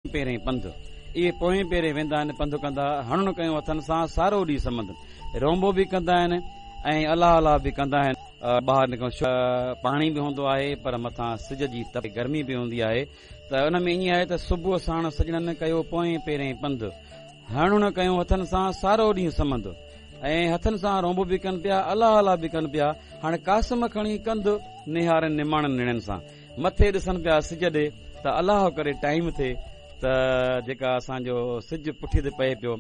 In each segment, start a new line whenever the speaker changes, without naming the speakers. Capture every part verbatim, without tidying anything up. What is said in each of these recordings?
پيرين پنڌ، اهي پوئين پيرين ويندا آهن پنڌ ڪندا، هڻڻ ڪيون هٿن سان سارو ڏينهن سمند، رونبو به ڪندا آهن ۽ الله الله به ڪندا آهن. ٻاهر نڪرڻ پاڻي به هوندو آهي پر مٿان سج جي تپ گرمي به هوندي آهي ته ان ۾ ائين آهي ته صبح ساڻ سڄڻن ڪيو پوئين پيرين پنڌ، هڻڻ ڪيون هٿن سان سارو ڏينهن سمند، ۽ هٿن سان رونبو به ڪن پيا الله الله به ڪن پيا. هاڻي قاسم کڻي ڪنڌ نهارن نماڻن نيڻن سان، مٿي ڏسن پيا سج ڏي ته الله ڪري ٽائيم ٿئي ته جيڪا اسان جو سج پٺي تي پئي پيو،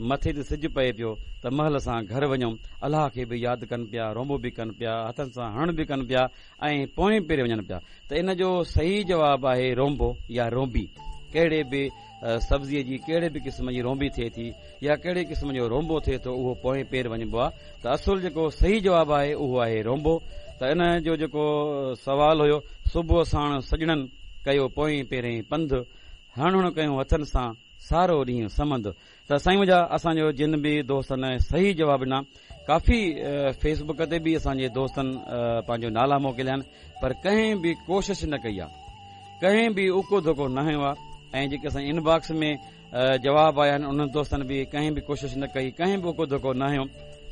مٿي تي سج پئي پيو ته مهل سان گهر وڃون. الله کي به ياد ڪن پيا، رونبو به ڪن پيا، هٿن سان هڻڻ به ڪن پيا ۽ پوئين پيري وڃن پيا. ته ان جو صحيح جواب آهي رونبو يا رونبي. ڪهڙي به سبزيء جي ڪهڙي به قسم جي رونبي ٿئي ٿي يا ڪهڙي قسم جو رونبو ٿئي ٿو اهو پوئين پير وڃبو آهي. ته اصل جيڪو صحيح جواب آهي اهو آهي رونبو. ته ان جو جيڪو سوال هيو صبح ساڻ سڄڻن ڪيو پوئين پيرين پنڌ، هڻ ڪيون هٿن سان سارو ڏينهن سمند. ته سائين منهنجا اسان جو جن به دوستن صحيح جواب ڏنا، ڪافي فيسبڪ تي به اسان جي دوستن پنهنجو نالا موڪليا آهن پر ڪنهن به ڪوشش نه ڪئي آهي، ڪنهن به اوڪو ڌوڪو نه هنيو آهي. ۽ جيڪي اسان جي انباڪس ۾ جواب آيا آهن انهن دوستن به ڪنهن به ڪوشش نه ڪئي، ڪنهن به اوڪو ڌوڪو نه هنيو،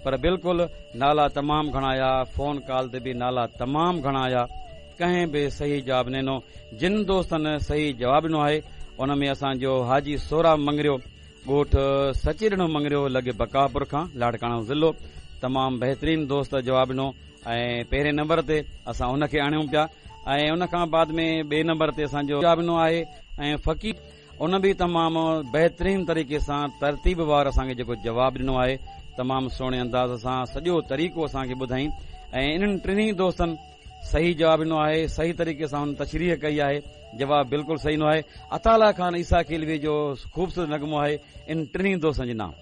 پر بلڪل نالا تمام گهڻا آيا، فون ڪال تي به نالا تمام گهڻا آيا، ڪنهن به صحيح جواب نه ڏنو. جن دوستن صحيح جواب ڏنو آهي ان ۾ اسان جو حاجي سوراب مڱريو، ڳوٺ سچيڏنو مڱريو لڳ بڪاپور کان لاڙڪاڻو ضلعو، تمام بهترين دوست جواب ڏنو ۽ پهرين نمبر تي اسان ان کي آڻيون پيا. ۽ ان کان بعد ۾ ٻئي نمبر تي اسان جو جواب ڏنو آهي ۽ فقير، ان به تمام بهترين طريقي سان ترتيب وار اسان کي جيڪو جواب ڏنو آهي تمام سهڻي انداز سان سڄو طريقو اسان کي ٻڌائين. ۽ انهن ٽنهي دوستن صحيح جواب ڏنو آهي، صحيح طريقي سان هن تشريح ڪئي آهي، جواب بلڪل صحيح ڏنو آهي. عطاء الله خان عيسيٰ خيلوي جو خوبصورت نغمو آهي ان ٽنهي دوستن جي نام.